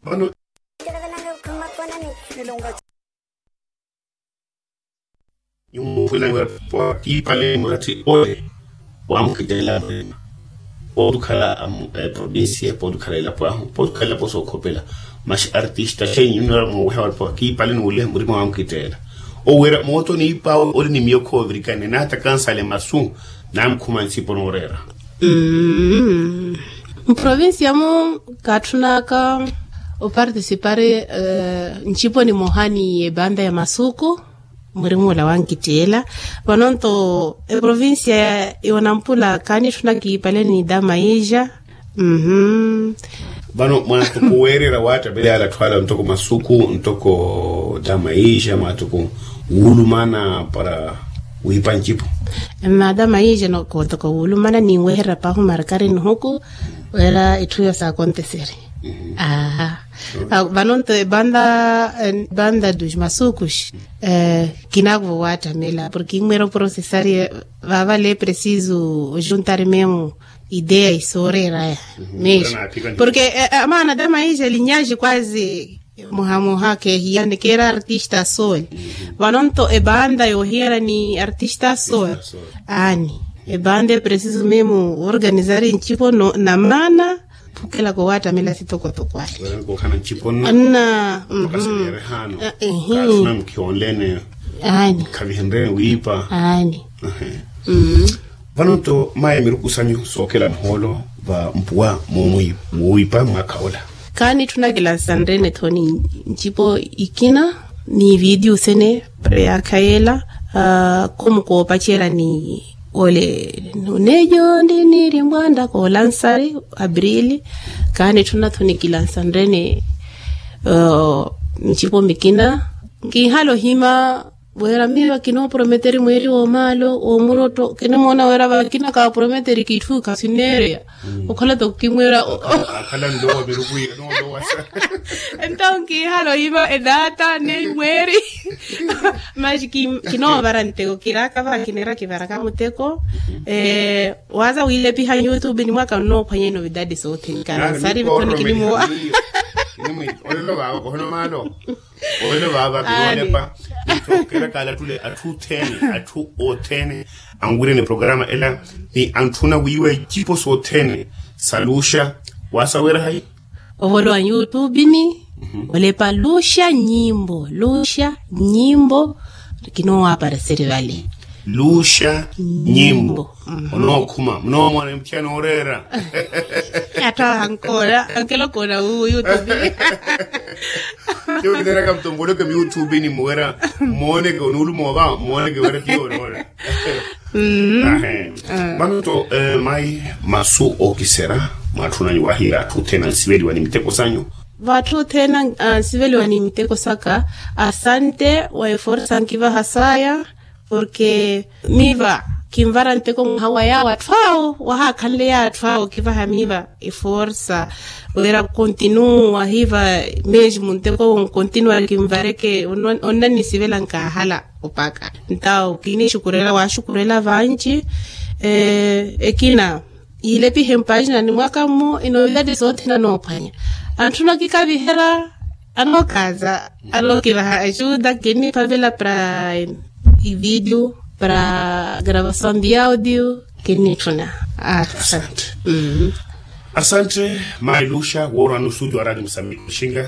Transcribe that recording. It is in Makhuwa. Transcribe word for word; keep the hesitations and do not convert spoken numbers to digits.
Vano nyumu khwilaniwa pwa kiipale murati ole waamukitteela murima. Pooti okhala provinsiya pooti okhala elapo ahu pooti okhala elapo sookhopela. Maxi artista xenyunnara mooweha wala pwa kiipale nuuleha murima waamukitteela. Oweera mootoni ipawe oli ni miyo khoovirikane naata kansale masu. Namukhuma nsipo nooreera. Mprovinsiya-mu kaatthunaka opartisipari ncipo nimoha ni ebanda ya masuku. Murimu ola wankitteela. Vanonto eprovinsiya ya onampula kaanitthuna kiipale ni damaija. Vano mwaatuku weerera waattamela yaala atthu ala ntoko masuku ntoko damaija mwaatuku wuulumana para wiipa ncipo. Mada maija noko ntoko wuulumana ninweherya pahu markari nihuku. Wira itthu iyo saakonteseri. Aha. Vano nto ebanda dos masukus. Kinakuvo waattamela porke inmwera oprosesari. Vavale presiso ojuntari memu ideya isooreraya. Meji porke amaana damaija linyaji kwazi. Muhamuha kehiyani keera artista sol. Vano nto ebanda yoohiyana ni artista sol. Aani ebanda epresiso memu organizari ncipo na maana. Phukelaka owaattamela sitokotoko ale. Anna. Aani. Khavihenreni wiipa. Aani. Vano nto mayi miruku sanyu sookela nhoolo va mpuwa. Moowiipa mwaakha ola. Kaanitthuna kilansanrene tho ni ncipo ikina ni vidiyo sene. Para yaakha yeela. Khumukoopacerya ni ole nunejo ndi niiri mbwanda koolansari. Aprili. Kaanitthuna tho ni kilansanrene ncipo mikina. Nkihala ohima wira miyo kinooprometeri mweeri woomaalo woomurotto kinimoona wira vakina kaaprometeri kitthu khasineereya. Okhala toko kimwira. Akhala nlowa miruku iya noolowasa. Ento nkihala oyiva edaata ni mweeri. Masi kinoovara nteko kiraka va kineera kivaraka muteko. Waza wiilepiha youtube ni mwaka nnoophwanya inovidade soothene kana sari vitthoni kinimowa. Olelo vava kohono maalo. Olelo vava kinoolepa. Nto kerakala tule atthu othene atthu othene anwirene programa ela ni antthuna wiiwa icipo sothene sa luxa. Wasaweera hayi? Ovolowa nyutupini. Olepa luxa nyimbo luxa nyimbo. Kinoowapareseri vale. Luxa nyimbo. Onookhuma munoomona emuthiya nooreera. Atthu ahankoora ankelokoona wuwo yutupini. Tiyo kineraka mtomboleke miyutupini muwera. Mmooneke onuulumoova mmooneke wera tiyo onoona. Vano nto mayi masu ookisera mwaatthunanyu wahiira atthu othene ansiveliwa ni miteko sanyu. Vatthu othene ansiveliwa ni miteko saka. Asante wa eforsa nkivaha saya. Porke miva kinvara nteko mwaha wa yaawo atthu awo wahaakhanle yaawo atthu awo kivaha miva eforsa. Wira kontinuwa hiva mesmo nteko nkontinuwari kinvareke onnannisivela nkaahala. Opaka ntawo kinixukurela waxukurela vanci. Ekina yiilepihe mpajina ni mwaka mmo inovidade sothene anoophwanya. Antthuna kikaviherya anookaza anookivaha ajuda kinniphavela para ividio para gravasawn di audio. Kinnitthuna. Asante. Asante mayi luxa woorwani osuti wa radio musambiki oxinga.